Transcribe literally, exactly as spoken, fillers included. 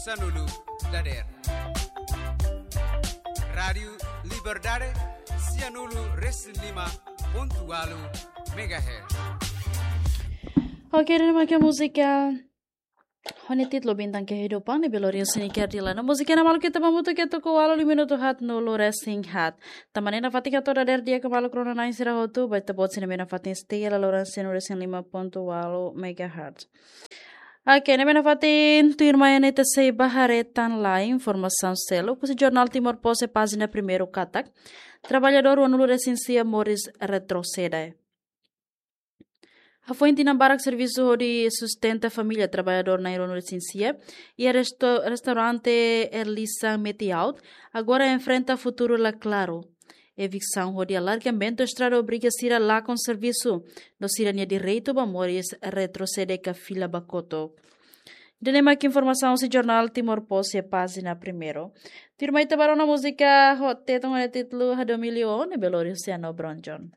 Sianulu dader. Rádiu Liberdade, sianulu resin lima pontu ualu megahertz. Oke, dan pakai múzika ho nia títulu Bintang Kehidupan ne'ebé lori husi Nicky Ardila. No múzika ne'e maluk ita hamutuk to'o ualu lima minutu haat nulu resin haat. Tanba ne'e nafatin hato'o dader di'ak ba maluk rona-na'in sira hotu, ba ita-boot sira ne'ebé nafatin setia iha laloran sianulu resin lima pontu ualu megahertz. Oke, ne'ebé nafatin tuirmai ne'e ita sei ba haree tan lai informasaun seluk husi jornál Timor Post iha pájina primeiru katak: traballadór ruanulu resin sia moris retrosede. Hafoin tinan barak servisu hodi sustenta família, traballadór na'in ruanulu resin sia iha resto-, restaurante Erlisa Metiaut agora enfrenta futuru la klaru. Eviksaun hodi alargamentu estrada obriga sira lakon servisu, no sira-nia direitu ba moris retrosede ka fila ba kotuk. Ida-ne'e mak informasaun husi jornál Timor Post iha pájina primeiru. Tuirmai ita ba rona múzika ho Tetun ho nia títulu Hadomi Liu Ó ne'ebé lori husi Ano Bronjon.